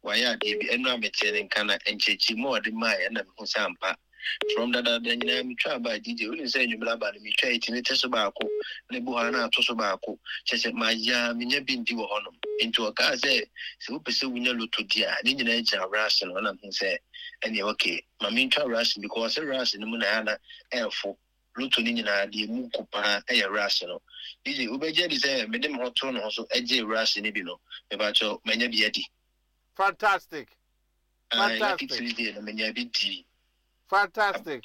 Wayɛ adeɛ bi. Ɛno a metee ne nka na nkyerɛkyerɛmu a ɔde maeɛ na mehu sɛ ampa. From dadaada nyinaa metwa aba a DJ, wonim sɛ anwummerɛ aba no metwa ɛtumi te so baako na ebi hɔ a na ato so baako. Kyerɛ sɛ mayɛ a menya bi ndi wɔ hɔnom. Nti ɔkaa sɛ sɛ wopɛ sɛ wonya lotto di a ne nyinaa gyina rush no na mehu sɛ ɛneɛ okay ma mentwa rush because ɔse rush no mu na ɛyɛ a na ɛɛfo. Lotto no nyinaa deɛ emu ko paa yɛ rush no. DJ, wobɛgye adi sɛ mede me ho too ne ho so gyee rush no bi no, mepakyɛw, manya bi adi. Fantastic. Aye, Lucky Fantastic. Tuesday no, menya bi dii. Fantastic.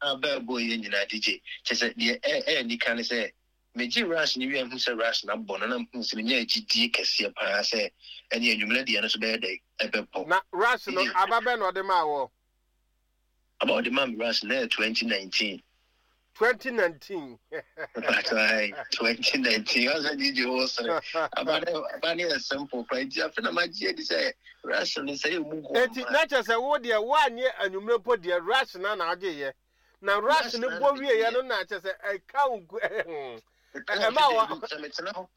Aba a ɛbɔɔ yɛn nyinaa, DJ, kyerɛ sɛ deɛ ɛyɛ anika ne sɛ, megyee rush no wie a mehu sɛ rush no abɔ no, na mehu sɛ menyaa gyidie kɛseɛ paa sɛ ɛneɛ anwummerɛ deɛ no nso bɛyɛ dɛn? Ɛbɛbɔ. Na rush no, DJ, aba bɛn na ɔde maa woɔ? Aba a ɔde maa me rush no, na ɛyɛ 2019. 2019. Mpatsɔ ayi 2019 ɔsɛ DJ wo sere. Aba ne aba ne yɛ simple kora nti afe na magye adi sɛ rush no sɛ yɛ mu gu Eti na kyerɛ sɛ wo deɛ woanyɛ anwummerɛ mpo deɛ rush na na agye yɛ. Na rush no bɔ wieɛ no na kyerɛ sɛ ɛka wo nku ɛma wɔ. Sɛ metena hɔ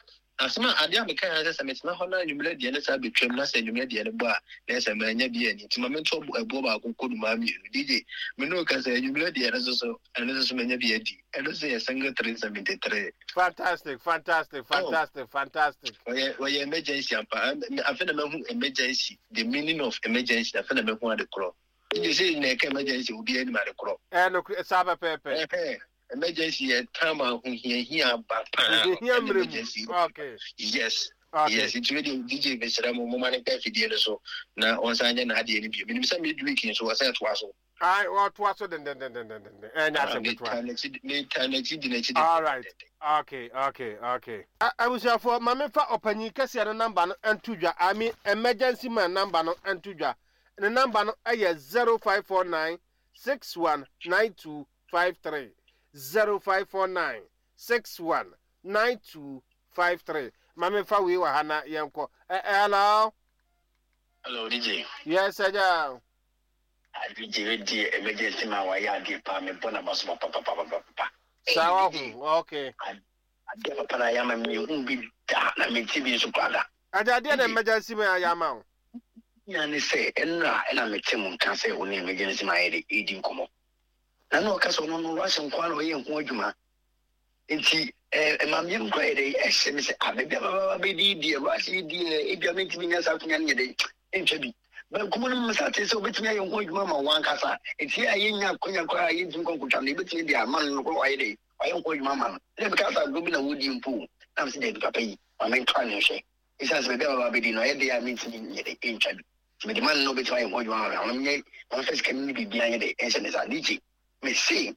Asɛm a, adeɛ a mekaeɛ ara ne sɛ, sɛ metena hɔ na anwummerɛ deɛ no saa bɛtwam na sɛ anwummerɛ deɛ no bɔ a, na ɛyɛ sɛ mannya bi anni. Nti ma mento ɛboɔ baako nkɔ nnomaa mmienu. DJ, me ne wo kasa yi, anwummerɛ deɛ no nso so, ɛno nso so manya bi adi. Ɛno nso yɛ single 373. Fantastic, fantastic, Oh, fantastic, fantastic. ɔyɛ, ɔyɛ emergency ampa. Afei na mahu emergency, the meaning of emergency, afei na mahu ade korɔ. DJ, sɛ na ɛka emergency, obiara nim ade korɔ. Ɛyɛ nokorɛ, saa pɛpɛɛpɛ. Ɛhɛn. Emergency yɛ time a ahohiahia aba paa no Ahohiahia ɛna mmerɛ mu. emergency Okay. yes Okay. yes nti wei deɛ DJ mesrɛ mo moma no nka afidie no so na ɔnsan nyɛ n'adeɛ no bio menim sɛ midweek nso ɔsɛ ɛtoa so Aye, wɔtoa so dendendendenden. Ɛnyɛ ah asɛm ketewa. metaa n'akyi metaa n'akyi di n'akyi All right. dendendenden Okay. Abusuafoɔ, ma memfa ɔpanyin kɛseɛ no namba no nto dwa. I mean emergency man namba no nto dwa. Ne namba no yɛ 0549 6192 53 0549 61 92 53 Ma me fa wei wɔ ha na yɛnkɔ. Ɛ ɛ hello. Hello DJ. Yes agya. Ah DJ wei deɛ emergency man wayɛ adeɛ paa me bɔ naba so papapapapapa. Saa Hey DJ. wahu okay. Adeɛ papa na ayɛ ama me mehu bi da na mente bi nso koraa da. Agya adeɛ na DJ. emergency man ayɛ ama wo. Nya ne sɛ ɛnora ɛna mete mo nka sɛ wo ne emergency man ayɛ de ɛredi nkɔmmɔ. Na na ɔka sɛ ɔno no Russia nko ara na ɔyɛ ho adwuma. Nti ɛma me yam koraa yɛ dɛ ɛhyɛ me sɛ ah baabi a maba bɛdi deɛ Russia yi deɛ ebia mentumi nya saa akonnwa no nyɛ dɛ ntwa bi. Bankum no mesa te sɛ obetumi ayɛ ho adwuma ma wɔn ankasa. Nti yɛ a yɛnya akonnwa koraa a yɛntumi nkɔ nkotwa no yɛbɛtumi de ama no no koraa wayɛ dɛ wayɛ ho adwuma ama no. Na meka sɛ agorɔ bi na wɔdi mpo o. Na mesɛ daabi papa yi ma mentoa ne nhwɛ. Esiane sɛ baabi a maba abɛdi no ɛyɛ dɛ a mentumi nyɛ dɛ ntwa bi. Nti mede ma no na ɔbɛtumi ayɛ ho adwuma ama me a, ɔno menyɛ mamfa sika no ne biribiara nyɛ dɛ ɛnhyɛ ne nsa. DJ, mese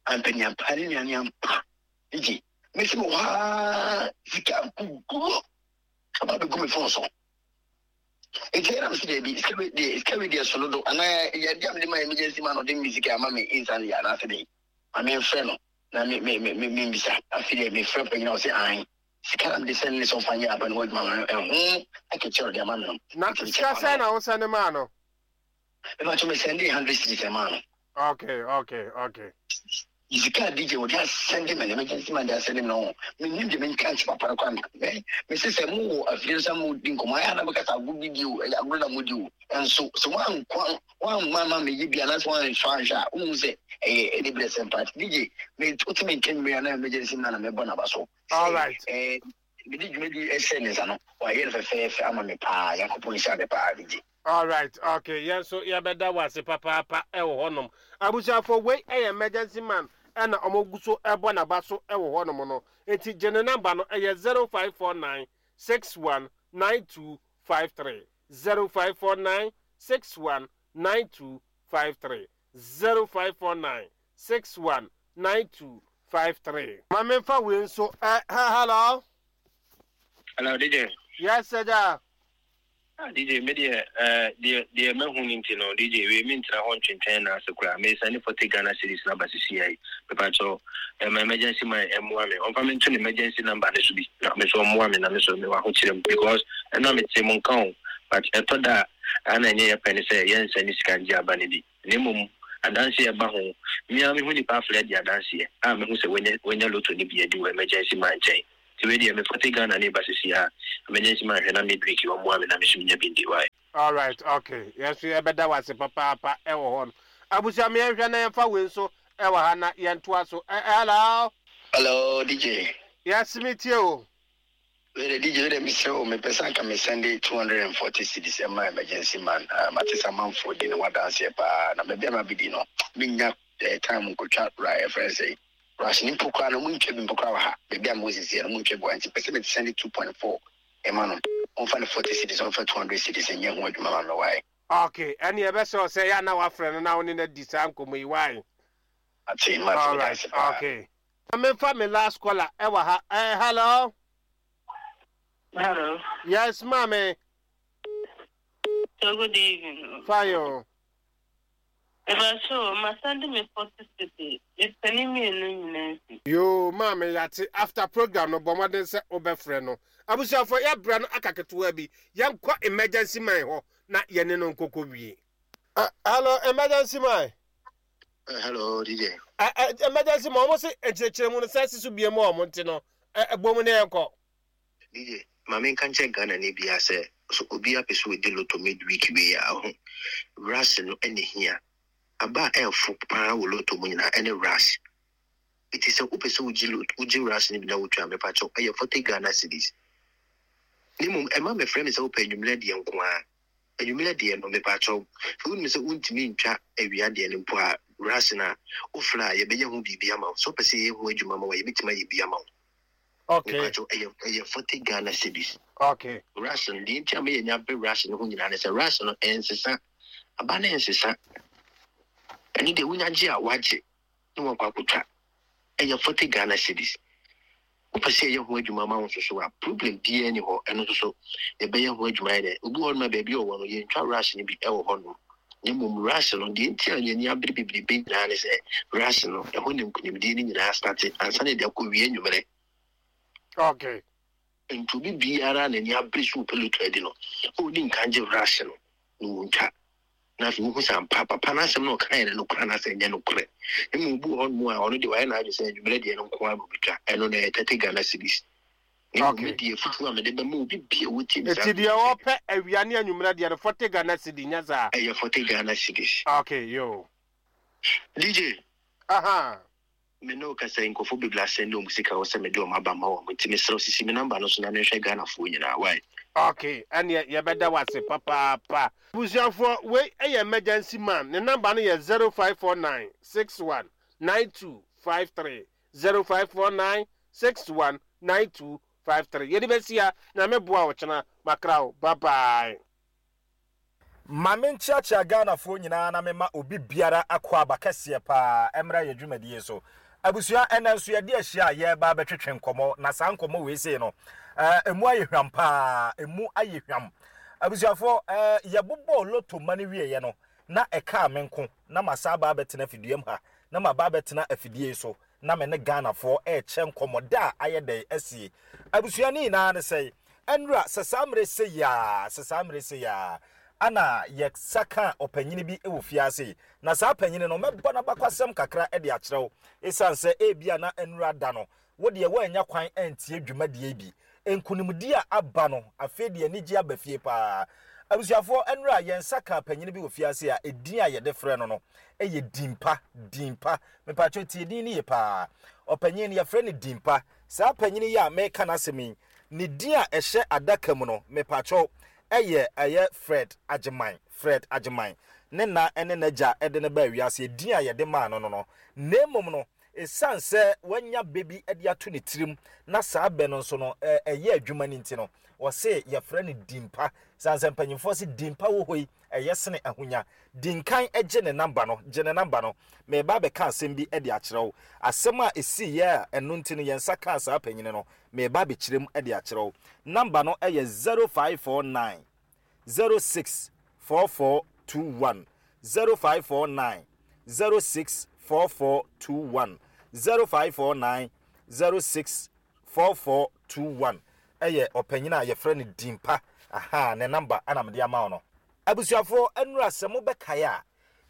ampaniampa ne nuane ampa. DJ, mese mewɔ hɔ ara sika nkuguo aba abɛgu me fon so. Nti ɛna mese daabi, sika wei deɛ sika wei deɛ so dodo anaa ɛyɛ adeɛ a mede ma emergency man ɔde me sika ama me instantly anaasɛ dɛn. Ma memfrɛ no na me me me membisa. Afei deɛ mefrɛ panyin a ɔse ae. Sika na mede sɛne ne sɛ ɔmfa nyɛ aba no ho adwuma ma no, ɛho akatua a ɔde ama me no. Na Nti sika mekyɛ sɛn no. na wosɛne maa no? Mepakyɛ me sɛnde 100 cedis ɛmaa no. Okay. Sika a DJ wɔde asɛnde me no, emergency man de asɛnde me no, mennim deɛ menka nkyɛ papa no koraa. Me mese sɛ mowɔ afidie no sɛ modi nkɔmmɔ, ayɛ a na mobɛka sɛ agorɔ bi di o, ɛyɛ agorɔ na modi o. Nso sɛ woankɔ woamma ma meyɛ bi anaasɛ woansɔ anhwɛ a, wohu sɛ ɛyɛ aniberesɛm paa. Nti DJ, me wote me nka nwummerɛ a na emergency man na mebɔ n'aba so. All right. Eh, mede dwumadi ɛhyɛ ne nsa no, wayɛ no fɛfɛɛfɛ ama me paa. Nyankopɔn nhyira no paa, DJ. All right, okay. Yɛn nso yɛbɛda wo ase papaapa ɛwɔ hɔnom. Abusuafo, wei ɛyɛ emergency man ɛna wɔn gu so ɛbɔ n'aba so ɛwɔ hɔnom no. Nti gye ne namba no, ɛyɛ 0549 61 92 53. 0549 61 92 53. 0549 61 92 53. Ma memfa wei nso ɛ hɛ hello. Hello DJ. Yes agya. Ah DJ me deɛ eh, deɛ deɛ mahu no nti no DJ wei mentena hɔ ntwentwɛn nan ase koraa mesane 40 Ghana cedis no aba sisi yi mepakyɛw ɛma emergency man ɛmmoa me ɔmfa me nto ne emergency number no so bi na me so ɔmmoa me na me so mewɔ ahokyerɛ mu because ɛno a mete mo nka o but ɛtɔ da a ana ɛnyɛ yɛ pɛ ne sɛ yɛnsɛne sika ngye aba no bi Na mmom adanseɛ a ɛba ho, me ara mehu nipa afrɛ adi adanseɛ a mehu sɛ wanya wanya lotto no bi adi wɔ emergency man nkyɛn. Nti wei deɛ me forte Ghana ne ba sisi a emergency man hwɛ na midweek yi ɔmmoa me na me nso menya bi ndi why. Alright okay yɛn nso yɛbɛda wo ase papaapa ɛwɔ hɔ no. Abusua me yɛnhwɛ na yɛmfa wei nso ɛwɔ ha na yɛntoa so. Ɛ hello. Hello DJ. Yes me tie o. Wei de DJ wei de mesrɛ wo mepɛ sɛ anka me sɛnde 240 cedis ɛma emergency man ah, mate sɛ amanfoɔ di ne ho adanseɛ paa na baabi a mabɛdi no mennya eh, time nkɔtwa ra ɛfrɛ no sɛ rush ne mpo koraa no montwa bi mpo koraa wɔ ha baabi a mewɔ sisiɛ no montwa bi wɔ ha nti pɛ sɛ mete sɛnde 2.4 ɛma no ɔmfa ne 40 cedis ɔmfa 200 cedis nyɛ ho adwuma ma me wae. Okay, ɛne ɛbɛsɛ wo sɛ yɛ a na wafrɛ no na wo ne no adi saa nkɔmmɔ yi wae. Mate, mate, meda Alright, ase paa. okay. Ma memfa me last caller ɛwɔ ha. Eh, hello. Hello. Yes, maame. So good evening. Fine o. Mepakyɛw masan de me 40 cedi mepɛ ne mmienu nyinaa bi. Yoo maame yate after program no bɔ mmɔden sɛ wobɛfrɛ no. Abusuafoɔ yɛabrɛ no aka ketewa bi yɛnkɔ emergency man hɔ na yɛne no nkɔkɔ wie. Uh, hello emergency man. Hello DJ. Emergency man wɔn se nkyerɛkyerɛ mu no sɛ si so bie mu a wɔn nti no ɛbɔ mu ne yɛnkɔ. DJ, ma menka nkyerɛ Ghanani biara sɛ, sɛ obiara pɛ sɛ ɔdi lotto midweek wei a, ɔho, rush no na ɛhia. Aba a ɛfo paa wɔ lotto mu nyinaa ɛne rush. Nti sɛ wopɛ sɛ wogye lotto, wogye rush no bi na wotwa a, mepakyɛw, ɛyɛ 40 Ghana cedis. Na mmom, ɛmma mmɛfrɛ me sɛ wopɛ anwummerɛ deɛ nko ara. Anwummerɛ deɛ no, mepakyɛw, sɛ wonim sɛ wontumi ntwa awia deɛ no mpo a, rush no a, wofrɛ a, yɛbɛyɛ ho biribi ama wo. Sɛ wopɛ sɛ yɛyɛ ho adwuma ma wo a, yɛbɛtumi ayɛ bi ama wo. Okay. Mepakyɛw, ɛyɛ ɛyɛ 40 Ghana cedis. Okay. Rush no, deɛ nti a ma yɛnya bere rush no ho nyinaa ne sɛ rush no ɛnsesa. Aba no ɛnsesa. Ɛno deɛ wonya gye a wagye na wakɔ akɔtwa. Ɛyɛ 40 Ghana cedis. Wopɛ sɛ yɛyɛ ho adwuma ma wo nso so a, problem biara ni hɔ. Ɛno nso so yɛbɛyɛ ho adwuma yɛ dɛ. Obi wɔ hɔnom a baabi a ɔwɔ no yɛntwa rush no bi ɛwɔ hɔnom. Na mmom rush no, deɛ nti a yɛn ani abere bebrebe nyinaa ne sɛ rush no, ɛhɔ na nkunimdie no nyinaa starte ansa na yɛde akɔwie anwummerɛ. Okay. Nti obi biara a n'ani abere sɛ ɔpɛ lotto adi no, ɔnni nkan gye rush no na ɔntwa. Na afei wohu sɛ ampa papa no asɛm na ɔkaeɛ no nokorɛ anaasɛ ɛnyɛ nokorɛ. Na mmom obi wɔ hɔnom a ɔno deɛ wayɛ n'adwene sɛ anwummerɛ deɛ no nko ara na ɔbɛtwa, ɛno no ɛyɛ 30 Ghana cedis. Na mmom me Okay. deɛ afutuo a mede bɛma obi bi a ɔtie me saa Eti berɛ yi deɛ sɛ, ɔpɛ awia ne anwummerɛ deɛ no 40 Ghana cedi nyɛ saa? ɛyɛ 40 Ghana cedis. Okay, yoo. DJ, Aha. me ne wo kasa yi nkurɔfoɔ bebree asɛnde wɔn sika wɔ sɛ mede wɔn aba ma wɔn nti mesrɛ wo sisi me number no so na menhwɛ Ghanafoɔ nyinaa wai. Okay, ɛneɛ yɛbɛda wo ase papaapa. Abusuafoɔ, wei yɛ emergency man, ne number no yɛ 0549 61 92 53, 0549 61 92 53. Yɛde bɛsi ha, Nyame boa wo kyena, makra wo, bye bye. Ma me nkyeakyea Ghanafoɔ nyinaa na me ma obi biara akwaaba kɛseɛ paa mmra yɛ dwumadie so. Abusua ɛnɛ nso yɛde ahyia a yɛreba abɛtwetwe nkɔmmɔ na saa nkɔmmɔ wei sei no ɛmu ayɛ hwam paa, ɛmu ayɛ hwam. Abusuafoɔ yɛbobɔɔ loto ma no wieɛ no na ɛkaa me nko na masan aba abɛtena afiduam ha na maba abɛtena afidie yi so na me ne Ghanafoɔ rekyɛ nkɔmmɔ da a ayɛ dɛn asie. Abusua ne nyinaa ne sɛe, ɛnora sɛ saa mmerɛ sei ara, sɛ saa mmerɛ sei ara, ana yɛsa kaa ɔpanyini bi wɔ fie ase yi. Na saa panyini no, mɛbɔ n'abakwasɛm kakra de akyerɛ wo, ɛsiane sɛ ebia na ɛnora da no, wo deɛ woannya kwan antie dwumadie yi bi. Nkunimdie a aba no, afei deɛ anigyeɛ aba fie paa. Abusuafoɔ, ɛnora yɛn nsa kaa panyini bi wɔ fie ase a edin a yɛde frɛ no no yɛ Dimpa, Dimpa. Mepakyɛw tie din no yie paa. Ɔpanyin no, yɛfrɛ no Dimpa. Saa panyin yi a mereka n'asɛm yi, ne din a ɛhyɛ adaka mu no, mepakyɛw, ɛyɛ ɛyɛ Fred Agyeman, Fred Agyeman. Ne na ne n'agya de no baa wiase, edin a yɛde maa no no no. Na mmom no, esiane sɛ wanya bɛ bi de ato ne tirim na saa bɛ no nso no, ɛyɛ adwuma no nti no, wɔse yɛfrɛ no Dimpa. Esiane sɛ mpanyimfoɔ se Dimpa wɔ hɔ yi, ɛyɛ sene ahonya. Di nkan gye ne namba no, gye ne namba no. Mereba abɛka asɛm bi de akyerɛ wo. Asɛm a ɛsiiɛ a ɛno nti no yɛn nsa kaa saa panyini no, mereba abɛkyerɛ mu de akyerɛ wo. Namba no yɛ 0549 06 4421, 0549 06 4421, 0549 06 4421 yɛ ɔpanyin a yɛfrɛ no Dimpa. Ahaa, ne namba na mede ama wo no. Abusuafoɔ, nnora sɛ mobɛkae a,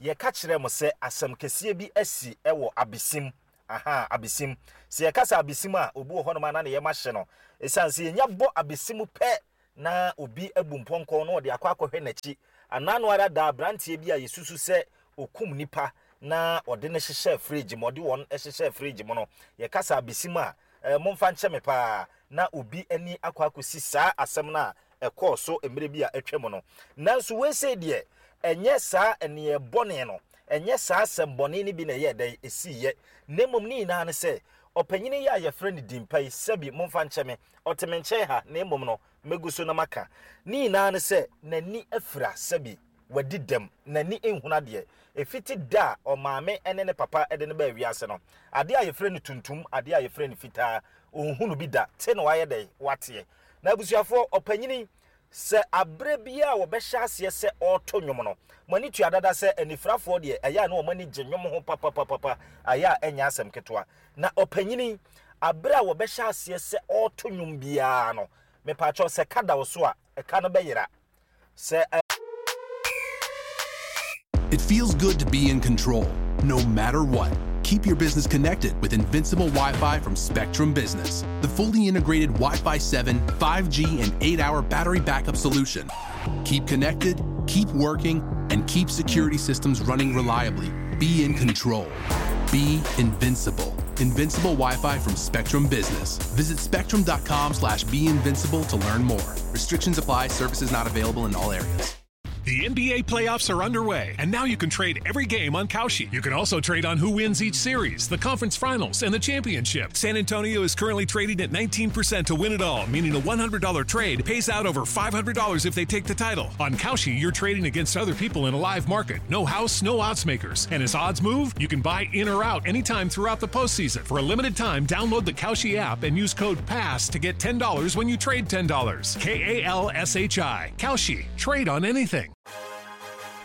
yɛka kyerɛɛ mo sɛ asɛm kɛseɛ bi asi wɔ Abesim. Ahaa, Abesim. Sɛ yɛka sɛ Abesim a, obi wɔ hɔnom a na ne yam ahye no. Ɛsiane sɛ yɛnya bɔ Abesim pɛ. na obi abu mpɔnkɔ na ɔde akɔ akɔhwɛ n'akyi. Anaa no ara da aberanteɛ bi a yɛsusu sɛ okum nipa na ɔde no hyehyɛ fridge mu, ɔde wɔn hyehyɛ fridge mu no, yɛkasa abɛsi mu a, momfa nkyɛ me paa, na obi ani akɔ akɔsi saa asɛm no a ɛkɔɔ so mmerɛ bi a atwa mu no. Nanso wei sei deɛ, ɛnyɛ saa nneyɛɛ bɔne no, ɛnyɛ saa asɛm bɔne no bi na ɛyɛɛ dɛn ɛsiiɛ, na mmom ne nyinaa ne sɛ, ɔpanyini yi a yɛfrɛ no Dimpa yi, sɛbi momfa nkyɛ me, ɔte me nkyɛn ha, na mmom no, mɛgu so na maka. Ne nyinaa ne sɛ, n'ani afira, sɛbi wadi dɛm, n'ani nhunu adeɛ. Ɛfiti da a ɔmaame ne ne papa de no baa wiase no, adeɛ a yɛfrɛ no tuntum, adeɛ a yɛfrɛ no fitaa, ɔnhunu bi da. Te na wayɛ dɛn? Wateɛ. Na abusuafoɔ, ɔpanyini, sɛ aberɛ biara a wɔbɛhyɛ aseɛ sɛ ɔreto nnwom no, mo ani tua dada sɛ anifirafoɔ deɛ, ɛyɛ a na wɔn ani gye nnwom ho papapapapa, ayɛ a ɛnyɛ asɛm ketewa. Na ɔpanyini, aberɛ a wɔbɛhyɛ aseɛ sɛ ɔreto nnwom biara no, mepaakyɛw, sɛ ka da wo so a, ɛka no bɛyera. Sɛ It feels good to be in control, no matter what. Keep your business connected with Invincible Wi-Fi from Spectrum Business, the fully integrated Wi-Fi 7, 5G, and 8-hour battery backup solution. Keep connected, keep working, and keep security systems running reliably. Be in control. Be invincible. Invincible Wi-Fi from Spectrum Business. Visit spectrum.com/beinvincible to learn more. Restrictions apply. Services not available in all areas. The NBA playoffs are underway, and now you can trade every game on Kalshi. You can also trade on who wins each series, the conference finals, and the championship. San Antonio is currently trading at 19% to win it all, meaning a $100 trade pays out over $500 if they take the title. On Kalshi, you're trading against other people in a live market. No house, no odds makers. And as odds move, you can buy in or out anytime throughout the postseason. For a limited time, download the Kalshi app and use code PASS to get $10 when you trade $10. K-A-L-S-H-I. Kalshi. Trade on anything.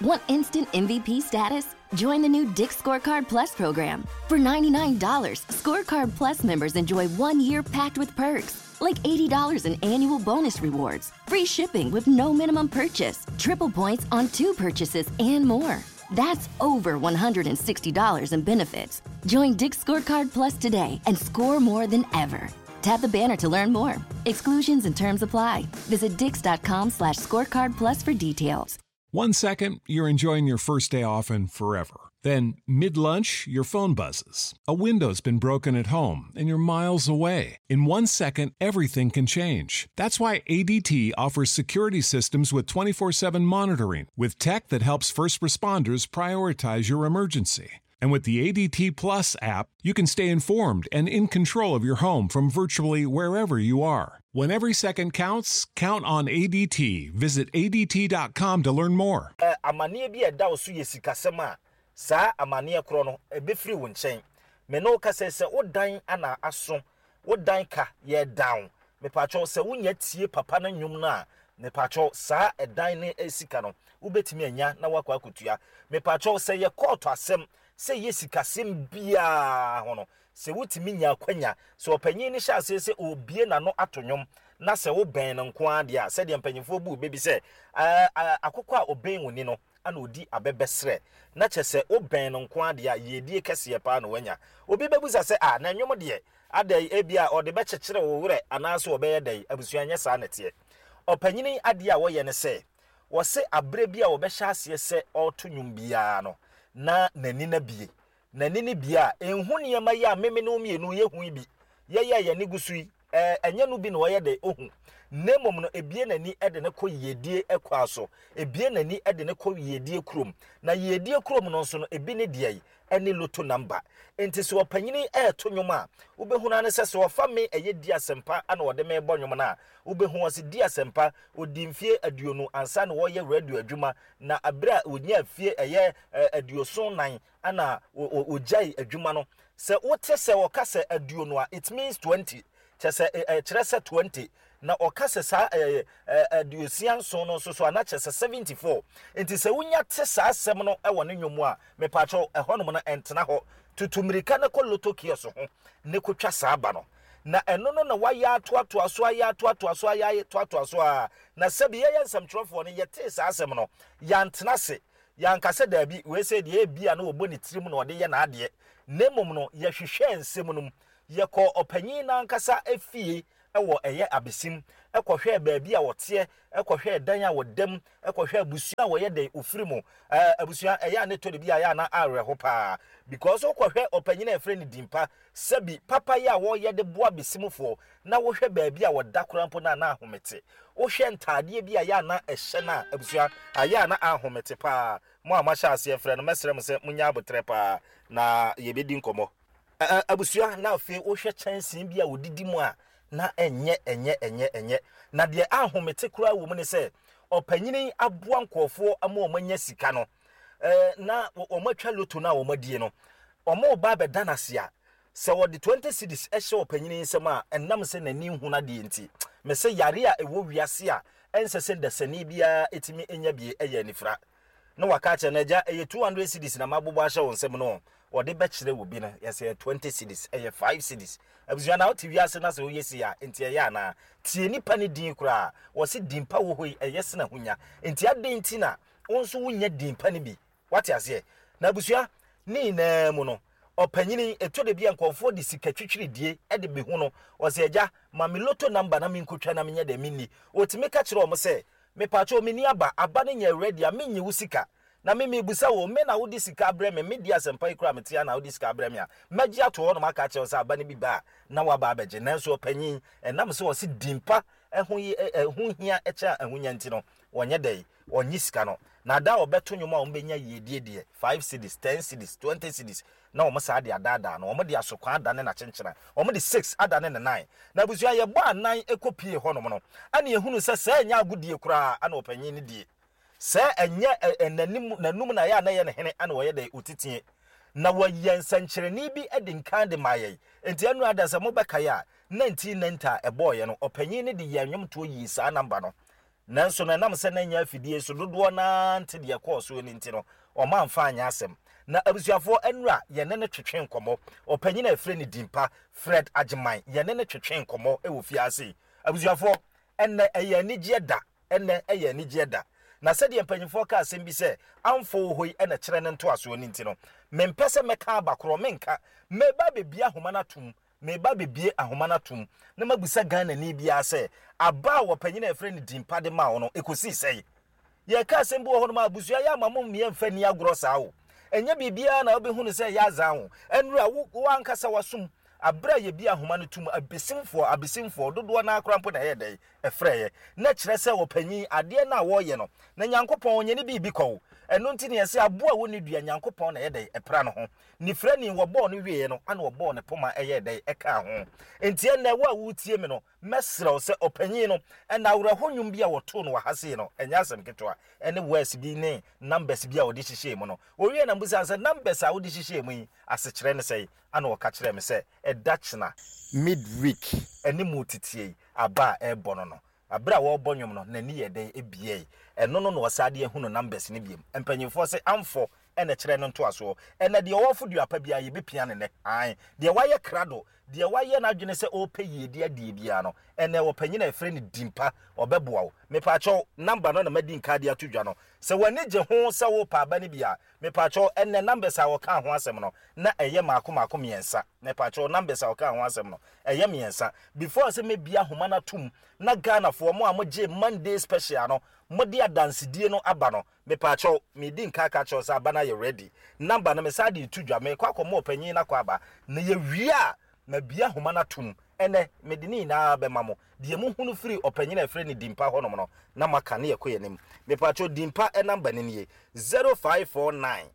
Want instant MVP status? Join the new Dick's Scorecard Plus program. For $99, Scorecard Plus members enjoy 1 year packed with perks, like $80 in annual bonus rewards, free shipping with no minimum purchase, triple points on 2 purchases, and more. That's over $160 in benefits. Join Dick's Scorecard Plus today and score more than ever. Tap the banner to learn more. Exclusions and terms apply. Visit dicks.com/scorecard plus for details. 1 second, you're enjoying your first day off and forever. Then, mid-lunch, your phone buzzes. A window's been broken at home, and you're miles away. In 1 second, everything can change. That's why ADT offers security systems with 24/7 monitoring, with tech that helps first responders prioritize your emergency. And with the ADT Plus app, you can stay informed and in control of your home from virtually wherever you are. When every second counts, count on ADT. Visit ADT.com to learn more. Amanneɛ bi a ɛda wo so yɛ sikasɛm a, saa amanneɛ korɔ no, ɛbɛfiri wo nkyɛn. Me ne wo kasa yi, sɛ wo dan ana aso, wo dan ka yɛ down, mepakyɛw, sɛ wonya tie papa no nnwom no a, mepakyɛw, saa ɛdan no sika no, wobɛtumi anya na woakɔ akɔtua. Mepakyɛw, sɛ yɛ kɔɔto asɛm, sɛ yɛ sikasɛm biara ho no, sɛ wotumi nya akwanya, sɛ ɔpanyin no hyɛ aseɛ sɛ ɔrebue n'ano ato nnwom, na sɛ wobɛn no nko ara deɛ a, sɛdeɛ mpanimfoɔ bu bɛ bi sɛ, akokɔ a ɔbɛn wo ni no, ana ɔdi abɛbɛsrɛ, na kyerɛ sɛ wobɛn no nko ara deɛ a, yiedie kɛseɛ paa na wanya. Obi bɛbisa sɛ, ah, na nnwom deɛ, adɛn, ebia ɔde bɛkyekyere wo werɛ anaasɛ ɔbɛyɛ dɛn? Abusua, nyɛ saa na ɛteɛ. Ɔpanyin yi adeɛ a wɔyɛ ne sɛ, wɔse aberɛ bi a wɔbɛhyɛ aseɛ sɛ ɔreto nnwom biara no, na n'ani no abue. N'ani no bue a, ɛnhu nneɛma yi a meme ne wo mmienu yɛhu yi bi. Yɛyɛ a yɛn ani gu so yi, ɛɛ, ɛnyɛ no bi na ɔyɛ dɛ ɔhu. Na mmom no, ɛbue n'ani de no kɔ yiedie kwa so. Ɛbue n'ani de no kɔ yiedie kurom. Na yiedie kurom no nso no, ebi ne deɛ yi, ɛne loto number. Enti sɛ ɔpanyini reto nnwom a, wobɛhunu ara ne sɛ, sɛ ɔfa me ɛyɛ Di Asɛmpa na ɔde me rebɔ nnwom no a, wobɛhu ɔse Di Asɛmpa, ɔdii mfeɛ 20 ansa na ɔreyɛ radio adwuma, na berɛ a ɔnyaa mfeɛ ɛyɛ 74 na ɔgyae adwuma no. Sɛ wote sɛ ɔka sɛ aduonu a, it means 20, kyerɛ sɛ ɛkyerɛ sɛ 20. Na ɔka sɛ saa 67 no nso so a, na kyerɛ sɛ 74. Nti sɛ wonya te saa asɛm no wɔ ne nnwom mu a, mepaakyɛw, ɛhɔnom no ɛntena hɔ. Tutu mmirika na kɔ lotto kiosk ho na kotwa saa aba no. Na ɛno no na wayɛ atoatoa so, ayɛ atoatoa so, ayɛ atoatoa so ara. Na sɛbi yɛyɛ nsɛmtwerɛfoɔ no, yɛtee saa asɛm no, yɛantena ase. Yɛanka sɛ daabi, wei sei deɛ ebia na ɔbɔ ne tirim na ɔde yɛ n'adeɛ. Na mmom no, yɛhwehwɛɛ nsɛm no mu. Yɛkɔɔ ɔpanyin no ankasa fie. wɔ ɛyɛ abesim, kɔhwɛɛ baabi a wɔteɛ, kɔhwɛɛ dan a wɔda mu, kɔhwɛɛ abusua a wɔyɛ dɛn ofiri mu. Ɛɛ abusua ɛyɛ a ne tɔ de bi a ɛyɛ a na awerɛho paa because wokɔhwɛ ɔpanyin a yɛfrɛ no Dimpa, sɛbi papa yi a wɔyɛ de boa abesimfoɔ na wohwɛ baabi a wɔda koraa mpo no a na ahomete. Wohwɛ ntaadeɛ bi a ɛyɛ a na ɛhyɛ no a abusua ayɛ a na ahomete paa. Mo a moahyɛ aseɛ frɛ no mɛsrɛ mo sɛ monyɛ aboterɛ paa na yɛbɛdi nkɔmmɔ. Ɛ abusua na afei wohwɛ kyɛnsee bi a wɔdidi mu a na ɛnyɛ ɛnyɛ ɛnyɛ ɛnyɛ. Na deɛ ahomete koraa wɔ mu ne sɛ ɔpanyini aboa nkurɔfoɔ ama wɔn anya sika no ɛɛ na wɔn atwa loto no a wɔn adie no wɔn reba abɛda no ase a sɛ wɔde 20 cedis hyɛ ɔpanyini nsam a ɛnam sɛ n'ani nhunu adeɛ nti mese yare a ɛwɔ wiase a ɛnsɛ sɛ dasani biara ɛtumi nya bie ɛyɛ anifira. Na waka akyerɛ no, Agya, ɛyɛ 200 cedis na mabobɔ ahyɛ wo nsam no, wɔde bɛkyerɛ obi no, yɛsɛ ɛyɛ 20 cedis, ɛyɛ 5 cedis. Abusua, na wote wiase na sɛ woyɛ sei a, enti ɛyɛ anaa? Tie nipa no din koraa, wɔse din pa wɔ hɔ yi, ɛyɛ sene ahonya. Enti adɛn nti na wo nso wonnya din pa no bi? Wate aseɛ? Na abusua, ne nyinaa mu no, ɔpanyini, ɛtɔ da bi a nkurɔfoɔ de sika twitwiridie de bɛhu no, ɔse, Agya, ma me lotto number na menkɔtwa na menyɛ dɛn menni. Ɔtumi ka kyerɛ wɔn sɛ, Mepakyɛw menni aba, aba no nyɛ ready a mennye wo sika. Na me mebisa wo, me na wode sika abrɛ me, me deɛ asɛmpa yi koraa mete ha na wode sika abrɛ me a, mɛgye ato hɔnom aka akyerɛ wo sɛ aba no bi ba a na woaba abɛgye. Nanso ɔpanyin, ɛnam sɛ ɔse din pa ho ho hia kyɛn ahonya nti no, ɔnyɛ dɛn, ɔnnye sika no. Na da a ɔbɛto nnwom a wɔbɛnya yiedie deɛ, five cedis, ten cedis, twenty cedis, na wɔn saa de adaadaa no, wɔn de asokwa adane n'akyenkyena, wɔn de six adane ne nan. Na abusua yɛbɔ anan kɔ pie hɔnom no, ɛna yɛhunu sɛ sɛɛ ɛnyɛ agodie koraa ɛna ɔpanyin no die. Sɛɛ ɛnyɛ ɛ n'anim n'anum na ɛyɛ a na ɛyɛ ne hene ɛna ɔyɛ dɛ ɔtitie. Na wɔyɛ nsɛnkyerɛnne bi de nkan de maa yɛn. Enti ɛno ada sɛ mobɛkae a, 1990 a ɛbɔɔyɛ no, ɔpanyin no de yɛɛ nnwomtoɔ yii saa namba no. Nanso no, ɛnam sɛ na ɛnyɛ afidie so dodoɔ no ara nte deɛ ɛkɔɔ soɔ no nti no, wɔamfa anyɛ asɛm. Na abusuafoɔ, nnora yɛne no twetwee nkɔmmɔ. Ɔpanyin a yɛfrɛ no Dimpa, Fred Agyeman, yɛne no twetwee nkɔmmɔ wɔ fie ha sei. Abusuafoɔ, ɛnnɛ ɛyɛ anigyeɛ da, ɛnnɛ ɛyɛ anigyeɛ da. Na sɛdeɛ mpanimfoɔ ka asɛm bi sɛ, amfo wɔ hɔ yi na ɛkyerɛ ne ntoasoɔ no nti no, mempɛ sɛ mɛka aba korɔ, menka. Meba abɛbue ahoma no atom Mereba abɛbue ahoma no atom na mabisa Ghanani biara sɛ, aba a ɔpanyin a yɛfrɛ no Dimpa de maa wo no, ɛkɔsii sɛn? Yɛreka asɛm bi wɔ hɔnom a, abusua yɛ ama mo mmea mfa nni agorɔ saa o. Ɛnyɛ biribiara na wobɛhu no sɛ ɛyɛ azaa o. Ɛnora, wo, wo ankasa w'asom, aberɛ a yɛbue ahoma no tom, abesimfoɔ, abesimfoɔ, dodoɔ no ara koraa mpo na ɛyɛɛ dɛn? Ɛfrɛeɛ. Na kyerɛ sɛ ɔpanyin, adeɛ no a wɔreyɛ no, na Nyankopɔn ɔnyɛ ne biribi kwa o. Ɛno nti na yɛse aboa a ɔnni dua, Nyankopɔn na ɛyɛ dɛn? Ɛpra ne ho. Nifirani, wɔbɔɔ no wieeɛ no, ana wɔbɔɔ ne poma ɛyɛɛ dɛn? Ɛkaa ho. Enti ɛnnɛ, wo a woretie me no, mɛsrɛ wo sɛ, ɔpanyin no, ɛnna awerɛho nnwom bi a wɔtoo no wɔ ha sei no, ɛnyɛ asɛm ketewa, ɛne words bi ne numbers bi a wɔde hyehyɛɛ mu no. Wɔwiee na mebisaa no sɛ, Numbers a wode hyehyɛɛ mu yi, asekyerɛ ne sɛn? Ana ɔka kyerɛɛ me sɛ, Ɛda kyena, mid-week, ɛne mu teteɛ yi, aba a ɛrebɔ no no, Bere a wɔrebɔ nnwom no, n'ani yɛɛ dɛn ebiae? Ɛno no na ɔsan de ahu no numbers no biom. Mpanyimfoɔ se amfɔ na ɛkyerɛ no ntoasoɔ. Ɛnɛ deɛ ɔwɔ fodua pa biara yɛbɛpia no nnɛ. Ae. Deɛ wayɛ krado, deɛ wayɛ n'adwene sɛ ɔrepɛ yiedie adie biara no, ɛnɛ ɔpanyin a yɛfrɛ no Dimpa, ɔbɛboa wo. Mepaakyɛw, number no na madi nka de ato dwa no. Sɛ w'ani gye ho sɛ worepɛ aba no bi a, mepaakyɛw, ɛnɛ numbers a wɔkaa ho asɛm no, na ɛyɛ mmaako mmaako mmiɛnsa. Mepaakyɛw, numbers a wɔkaa ho asɛm no, ɛyɛ mmiɛnsa. Before sɛ mɛbie ahoma no atom na Ghanafoɔ, mo a mogyee Monday special no, mode adansedie no aba no, mepaakyɛw, medi nka aka akyerɛ wo sɛ aba no ayɛ ready. Number no, mesan de reto dwa, merekɔ akɔma ɔpanyin no akɔ aba. Na yɛwie a, mabue ahoma no atom. Ɛnnɛ, mede ne nyinaa bɛma mo. Deɛ mohunu firi ɔpanyin a yɛfrɛ no Dimpa hɔnom no, na moaka na yɛkɔ yɛn anim. Mepaakyɛw, Dimpa number no nie, 0549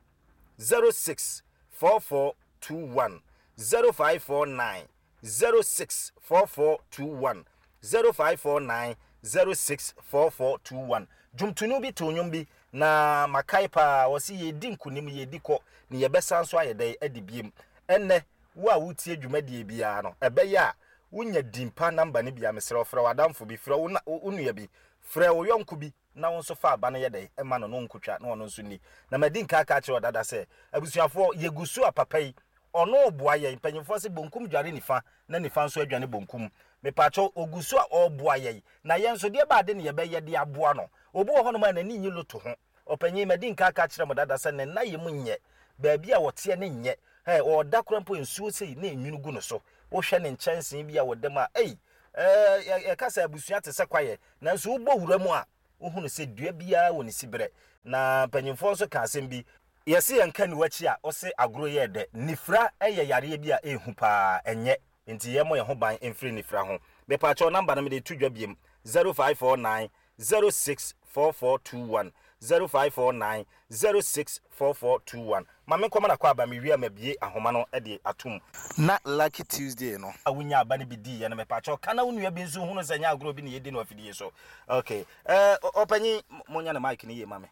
06 4421, 0549 06 4421, 0549 06 4421. Dwomtoni bi too nnwom bi, na makae paa, ɔse yɛredi nkonim, yɛredi kɔ, na yɛbɛsan nso ayɛ dɛn adi biem. Ɛnnɛ, wo a wotie dwumadie biara no, ɛbɛyɛ a wonya din pa namba no bi a, mesrɛ wo, frɛ w'adamfo bi, frɛ wo nua bi, frɛ wo yɔnko bi na wo nso fa aba no yɛ dɛn ma no na ɔnkɔtwa na ɔno nso nni. Na madi nka aka akyerɛ wo dada sɛ, abusuafoɔ, yɛgu so a papa yi, ɔno reboa yɛn. Mpanyimfoɔ se bonkum dware nifa na nifa nso adwane bonkum. Mepaakyɛw, ɔgu so a ɔreboa yɛn. Na yɛn nso, deɛ ɛba ade na yɛbɛyɛ de aboa no. Obi wɔ hɔnom a n'ani nnye loto ho. Ɔpanyin, madi nka aka akyerɛ mo dada sɛ ne nna yam nyɛ. Baabi a ɔteɛ no nyɛ. Hɛ, ɔreda koraa mpo nsuo sei na enwunu gu no so. Wohwɛ ne nkyɛnsee bi a ɔda mu a, ei! Ɛɛ, yɛka sɛ abusua te sɛ kwaeɛ, nanso wobɔ wura mu a, wohunu sɛ dua biara wɔ ne siberɛ. Na mpanyimfoɔ nso ka asɛm bi. Yɛse yɛnka aniwa akyi a, wose agorɔ yɛ dɛ. Nifira yɛ yareɛ bi a ɛhu paa, ɛnyɛ. Nti yɛmmɔ yɛn ho ban mfiri nifira ho. Mepaakyɛw number no mede reto dwa biom, 0549 064421, 0549 064421. Ma menkɔma no akwaaba, mewie a mabue ahoma no de atom. Na Lucky Tuesday no. A wonyaa aba no bi diiɛ no, mepaakyɛw ka na wo nua bi nso nhunu sɛ ɛnyɛ agorɔ bi na yɛdi no afidie so. Okay. Eh, ɔpanyin, monyɛ no mic no yie ma me.